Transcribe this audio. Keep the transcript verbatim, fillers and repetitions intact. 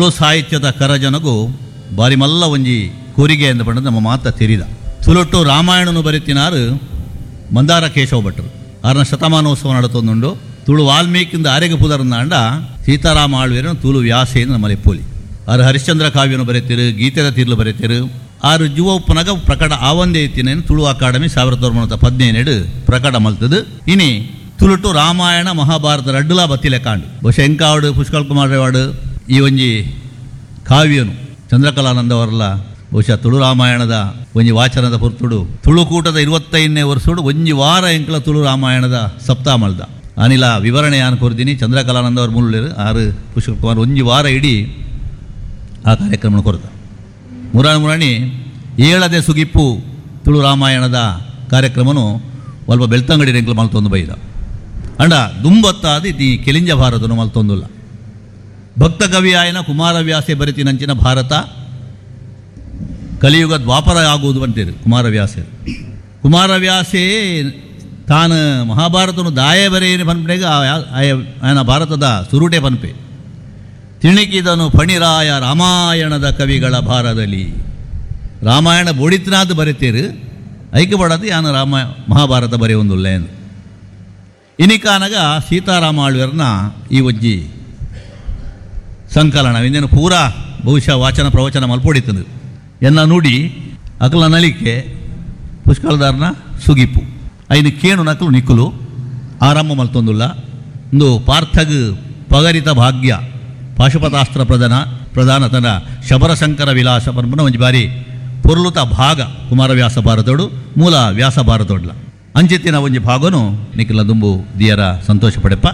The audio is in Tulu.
ತುಳು ಸಾಹಿತ್ಯದ ಕರಜನಗು ಬಾರಿ ಮಲ್ಲ ಒಂಜಿ ಕೂರಿಗೆ ಎಂದು ಪಂಡ ನಮ್ಮ ಮಾತ ತೆರಿದ ತುಳುಟ್ಟು ರಾಮಾಯಣನು ಬರೆತಿನಾರು ಮಂದಾರ ಕೇಶವ ಭಟ್ರು ಆರನ ಶತಮಾನೋತ್ಸವ ನಡತೊಂದುಂಡು. ತುಳು ವಾಲ್ಮೀಕಿಂದ ಆರೆಗೆ ಪುದರ್ನಾಂಡ ಸೀತಾರಾಮ ಆಳ್ವೇರನು ತುಳು ವ್ಯಾಸೇನು ನಮ್ಮಲ್ಲಿ ಪೋಲಿ. ಆರು ಹರಿಶ್ಚಂದ್ರ ಕಾವ್ಯನು ಬರೆತಿರು, ಗೀತೆದ ತೀರ್ಲು ಬರೆತಿರು. ಆರು ಜುವ ಉಪ್ಪನಗ ಪ್ರಕಟ ಆವಂದೇ ಇತ್ತಿನೇನು ತುಳು ಅಕಾಡೆಮಿ ಸಾವಿರದ ಒಂಬೈನೂರ ಪದಿನೇಳು ಪ್ರಕಟ ಮಲ್ತದು. ಇನಿ ತುಳುಟು ರಾಮಾಯಣ ಮಹಾಭಾರತ ರಡ್ಡುಲಾ ಬತ್ತಿಲೆ ಕಾಂಡು. ಬಹುಶಃ ಎಂಕಾವಡು ಪುಷ್ಕಲ್ ಕುಮಾರ್ ರೇವಾಡು ಈ ಒಂಜಿ ಕಾವ್ಯನು ಚಂದ್ರಕಲಾನಂದವರಲ್ಲ ಬಹುಶಃ ತುಳು ರಾಮಾಯಣದ ಒಂಜಿ ವಾಚನದ ಪುರ್ತುಡು ತುಳುಕೂಟದ ಇರುವತ್ತೈದನೇ ವರ್ಷಡು ಒಂಜಿ ವಾರ ಎಂಕಲ ತುಳು ರಾಮಾಯಣದ ಸಪ್ತಾಹ ಮಲ್ದ. ಅನಿಲ ವಿವರಣೆ ಯಾನ್ ಕೊರ್ದಿನಿ. ಚಂದ್ರಕಲಾನಂದ ಅವರು ಮುಳ್ಳಿರು ಆರು ಪುಷ್ಕಲ್ ಕುಮಾರ್ ಒಂಜಿ ವಾರ ಇಡೀ ಆ ಕಾರ್ಯಕ್ರಮ ಕೊರ್ದ. ಮುರಾಣಿ ಮುರಾಣಿ ಏಳದೆ ಸುಗಿಪ್ಪು ತುಳು ರಾಮಾಯಣದ ಕಾರ್ಯಕ್ರಮನು ಒಲ್ಪ ಬೆಳ್ತಂಗಡಿ ರೆಂಕ್ಲು ಮಲ್ತೊಂದು ಬೈದ. ಅಂಡ ದುಂಬತ್ತಾದ ಈ ಕೆಲಿಂಜ ಭಾರತನು ಮಲ್ತೊಂದುಲ್ಲ. ಭಕ್ತ ಕವಿಯಾಯನ ಕುಮಾರವ್ಯಾಸೆ ಬರಿತಿನಂಚಿನ ಭಾರತ ಕಲಿಯುಗ ದ್ವಾಪರ ಆಗುವುದು ಅಂತೀರಿ ಕುಮಾರವ್ಯಾಸೆ. ಕುಮಾರವ್ಯಾಸೇ ತಾನು ಮಹಾಭಾರತನು ದಾಯೆ ಬರೆಯೇನು ಪನ್ಪೆಗ ಆಯನ ಭಾರತದ ಸುರುಟೆ ಪನ್ಪೆ. ತಿಣಿಕಿದನು ಫಣಿರಾಯ ರಾಮಾಯಣದ ಕವಿಗಳ ಭಾರದಲ್ಲಿ. ರಾಮಾಯಣ ಬೋಡಿತ್ನಾಥ್ ಬರೆತೀರು ಐಕೆ ಬಡದು ಯಾನ ರಾಮ ಮಹಾಭಾರತ ಬರೆಯೊಂದುಲ್ಲ ಎಂದು. ಇನಿಕಾನಗ ಸೀತಾರಾಮ ಆಳ್ವೆರ್ನ ಈ ಒಜ್ಜಿ ಸಂಕಲನ ಇಂದೇನು ಪೂರಾ ಬಹುಶಃ ವಾಚನ ಪ್ರವಚನ ಮಲ್ಪೊಡಿತದು ಎನ್ನ ನುಡಿ ಅಕಲ ನಲಿಕೆ ಪುಷ್ಕಲದಾರನ ಸುಗಿಪು ಐನು ಕೇಣು ನಕಲು ನಿಕ್ಕುಲು ಆರಂಭ ಮಲ್ತೊಂದುಲ್ಲ. ಇಂದು ಪಾರ್ಥಗ್ ಪಗರಿತ ಭಾಗ್ಯ ಪಾಶುಪತಾಸ್ತ್ರ ಪ್ರಧಾನ ಪ್ರಧಾನ ತನ ಶಬರಶಂಕರ ವಿಲಾಸ ಪನ್ಪುನ ಒಂಜಿ ಬಾರಿ ಪೊರ್ಲುತ ಭಾಗ ಕುಮಾರವ್ಯಾಸ ಭಾರತೋಡು ಮೂಲ ವ್ಯಾಸ ಭಾರತೋಡ್ಲ ಅಂಚಿತ್ತಿನ ಒಂಜಿ ಭಾಗನು ನಿಖಿಲ ದುಂಬು ದಿಯರ ಸಂತೋಷ ಪಡೆಪ್ಪ.